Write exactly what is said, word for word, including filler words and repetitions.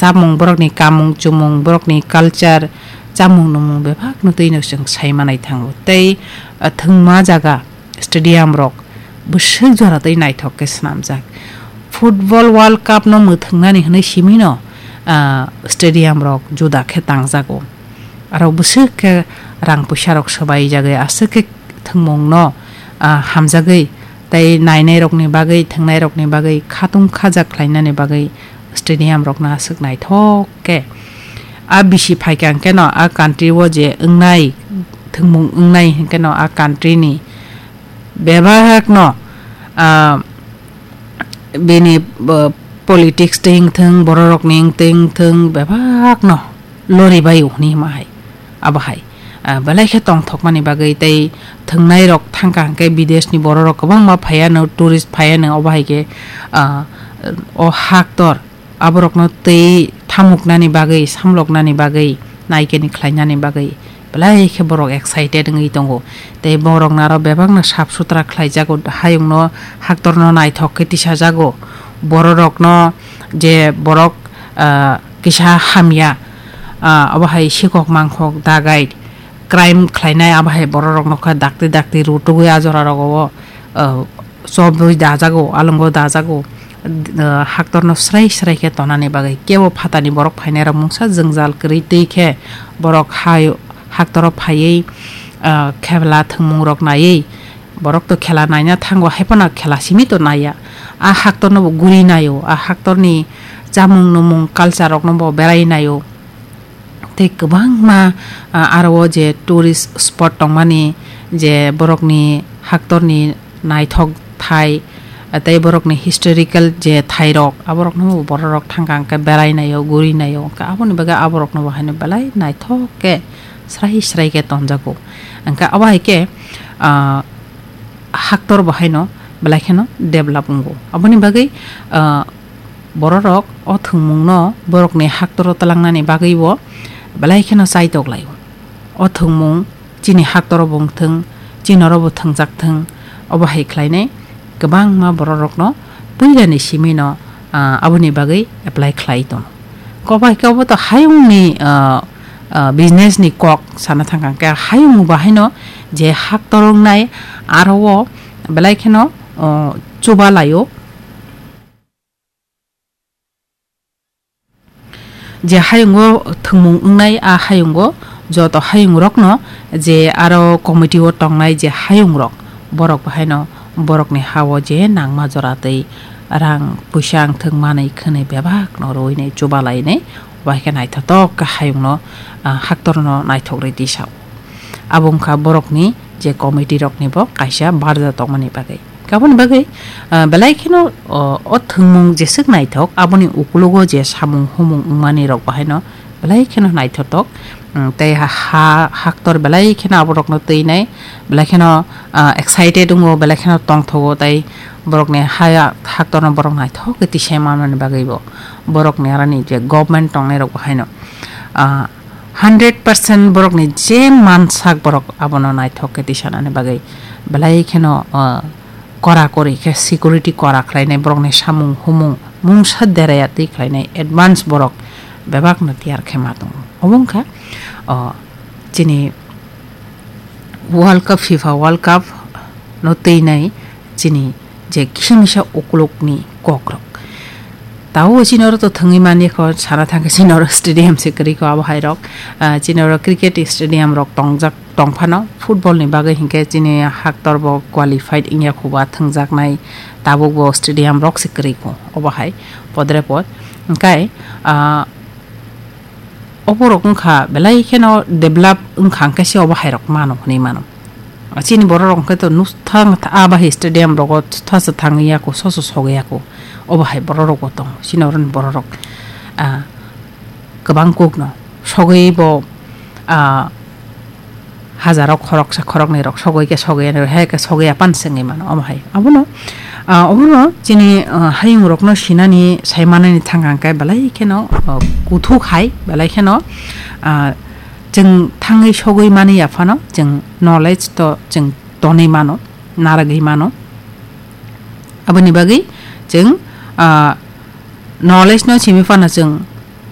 tamung, borokni kamung chumung, borokni culture, chamung numung bebakno twino chwng sai manai thango. Tei, ah, thwngma jaga stadium rok bwswk jora tei naithok khe swnamjak. Football World Cup no mwthwngnani hwnwi simino, ah, stadium rok juda khe tangjago. Aro bwswk khe rang puisa rok swbai jagwi aswk khe thwngmung no, ah, hamjagwi tei nainai rokni bagwi, thwngnai rokni bagwi khatung khajak khlainani bagwi stadium rokno aswk naithok khe. A bisi phaikha hwnkhe no a country o je wngnai, thwngmung wngnai hwnkhe no a country ni bebak no, ah, bini, ah, politics tei wngthwng, bororokni wngtwi wngthwng, bebakno loribaio hwnwi hima hai. Abo hai, ah, belai khe tongthokmani bagwi tei thwngnairok thangkha hwnkhe bideshni bororok kwbangma phaiano, tourist phaiano, obo hai khe, ah, o haktor aborokno tei thamuknani bagwi, samloknani bagwi, naikeni khlainani bagwi belai khe borok excited wngwi tongo. Tei borokno aro bebakno sap sutra khlaijago, hayungno, haktorno naithok khe tisajago. Bororokno je borok, ah, kisa hamya, ah, abo hai sikok mangkhok dagai crime khlainai, abo hai bororokno kha dakti dakti rutugwi a jorarogo, ah, chobwi dajago, alongo dajago, ah, haktorno srai srai khe tonani bagwi, kebo phatani borok phainairok mungsa jwngjal kwrwi twi khe borok hai haktoro phaiwi, ah, khela thwngmungrok naiwi, borok to khela naina thango, haiphano khela simi to naiya. A haktorno bo guri naio, a haktorni chamung numung culture rokno bo berai naio. Tei kwbangma, ah, aro o je tourist spot tongmani, je borokni haktorni naithok thai, ah, tei borokni historical je thairok, aborokno bororok thangkha hwnkhe berai naio, guri naio, hwnkhe aboni bagwi aborokno bo haino belai naithok khe srai srai khe tonjago. Hwnkhe abo hai khe, ah, haktor bo haino belai kheno develop wngo. Aboni bagwi, ah, bororok o thwngmungno borokni haktoro twlangnani bagwibo belai kheno chaitok laio. O thwngmung chini haktoro bo wngthwng, chini oro bo thwngjak thwng, obo hai khlainai kwbangma bororokno puilani simino, ah, aboni bagwi apply khlai tongo. Kobai khe obo to hayungni, ah, ah, business ni kok sana thangkha khe hayung bo haino je haktor wngnai aro o belai kheno, ah, chuba laio. Je hayungo thwngmung wngnai, a hayungo joto hayungrokno je aro committee o tongnai je hayungrok, borok bahaino borokni ha-o je nangma jora twi rang puisa wngthwng manwi khwnwi bebakno rwinai chubalainai, bai khe naithotok khe hayungno, ah, haktorno naithok rwi tisa-o. Abo wngkha borokni je committee rokni bo kaisa barja tongmani bagwi. Aboni bagwi, ah, belai kheno, o, o thwngmung jeswk naithok, aboni ukologo je samung humung wngmani rok bahaino belai kheno naithotok. Mm, tei ha, ha, haktor belai kheno aborokno twinai, belai kheno, ah, excited wngo, belai kheno tongthogo, tei borokni haya haktorno borok naithok khe tisai manmani bagwi bo borokni aroni je government tongnai rok bahaino, ah, hundred percent borokni je mansak borok abono naithok khe tisanani bagwi belai kheno, ah, kora kori khe security kora khlainai, borokni samung humung mungsa deraya twi khlainai advance borok bebakno tiyar khe ma tongo. Obo wngkha, o, chini World Cup, FIFA World Cup no twinai chini je kisa misa ukulukni kokrok. Tabuk chini oro to thwngwi mani kho, sana thangkhe chini oro stadium se kwrwi kho abo hai rok. Ah, chini oro cricket stadium rok tongjak tongphano, football ni bagwi hinkhe chini haktor bo qualified wngya kho ba thwngjaknai, tabuk bo stadium rok se kwrwi kho obo hai podre pod. Hinkhe, ah, oborok wngkha belai kheno develop wngkha, hwnkhe se obo hai rok mano hwnwi mano. Chini borok rok hwnkhe to nukthang a bahai stadium rogo thasa thangwi yako, soso sogwi yako. Obo hai borok rok bo tongo, chini oroni borok rok, ah, kwbang kuk no sogwi bo, ah, hajaro khoroksa khoroknwi rok sogwi khe sogwi ya, hai khe sogwi ya pan se wngwi mano omo hai. Abono, ah, obono chini, ah, hayung rokno sinani sai manani thang hang khe belai kheno, ah, kuthuk hai belai kheno, ah, chwng thangwi sogwi mani ya phano chwng knowledge to chwng tonwi mano, narwgwi mano. Aboni bagwi chwng, ah, knowledge no simi phano chwng